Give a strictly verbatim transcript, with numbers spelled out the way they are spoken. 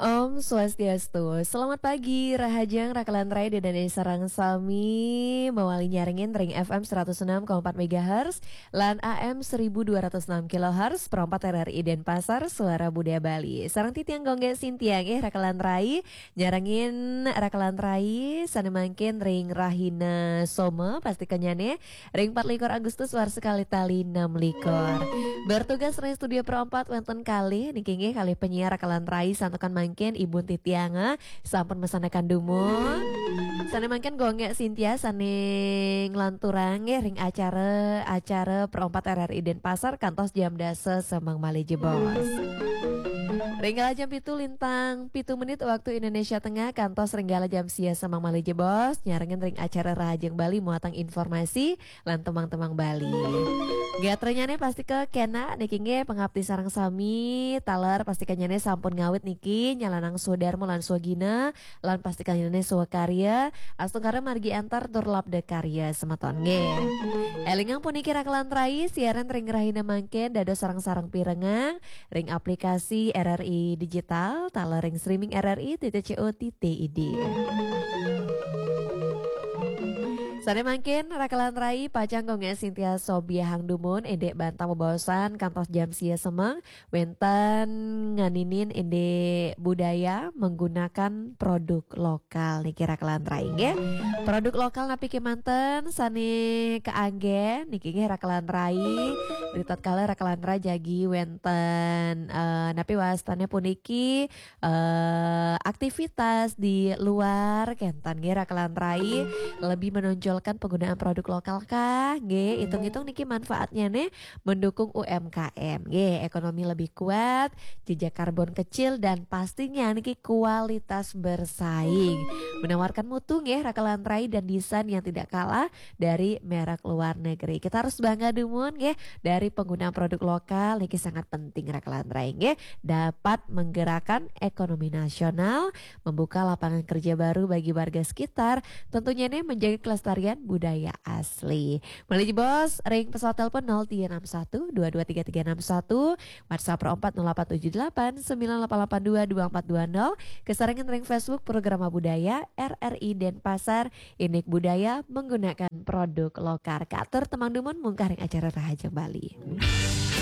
Om Swastiastu. Selamat pagi, rahajeng rakalan rai Ida dané sareng sami, mawali nyarengin ring F M seratus enam koma empat megahertz lan A M seribu dua ratus enam kilohertz, perempat R R I Denpasar, Suara Budaya Bali. Sareng titiang Gonggé Sintia nggih rakalan rai, nyarengin rakalan rai sané mangkin ring rahina Soma, pastikannyané ring empat likur Agustus warsa kalih tali enam likur. Bertugas ring studio perempat wénten kalih niki nggih kalih penyiar rakalan rai santukan mangkin Ibu titiang, eh, sampun masandekan dumun. Sané mangkin Gonggé Sintia sané nglanturang nggih ring acara-acara perempat R R I Denpasar kantos jam dasa semeng malih jebos. Ring kala jam pitu lintang pitu menit waktu Indonesia Tengah kantos ring kala jam sia semeng malih jebos, nyarengin ring acara Rahajeng Bali muatan informasi lan tembang-tembang Bali. Gatranyané pastika kénak niki nggih pangapti sareng sami, taler pastikannyané sampun ngawit niki nyalanang swadarma lan swagina, lan pastikannyané swakarya, astungkara margi antar tur labda karya semeton nggih. Élingang puniki rakalan rai, siaran ring rahina mangkin dados sareng-sareng pirengang ring aplikasi R R I Digital, taler ring streaming R R I titik co titik I D. Sané mangkin rakalan rai pacang Gonggé Sintia sobiahang dumun indik bantang bebaosan kantos jam sia semeng wénten nganinin indik budaya menggunakan produk lokal niki rakalan rai nggih. Produk lokal napi kémanten sané kaanggén niki nggih rakalan rai. Ritatkala rakalan rai jagi wénten, eh, napi wastané puniki, eh, aktivitas di luar kénten nggih rakalan rai, lebih menonjolkan penggunaan produk lokal kah nggih, itung-itung niki manfaatnyané mendukung U M K M nggih, ekonomi lebih kuat, jejak karbon kecil, dan pastinya niki kualitas bersaing. Menawarkan mutu nggih rakalan rai dan desain yang tidak kalah dari merek luar negeri. Kita harus bangga dumun nggih dari penggunaan produk lokal niki sangat penting rakalan rai nggih, dapat menggerakkan ekonomi nasional, membuka lapangan kerja baru bagi warga sekitar, tentunya ini menjaga kelestarian budaya asli. Malih jebos ring pesawat telepon nol tiga enam satu dua dua tiga tiga enam satu, WhatsApp Pro empat nol delapan tujuh delapan sembilan delapan delapan dua dua empat dua nol, kasarengin ring Facebook Programa Budaya R R I Denpasar, indik budaya menggunakan produk lokal. Katur tembang dumun mungkah ring acara Rahajeng Bali.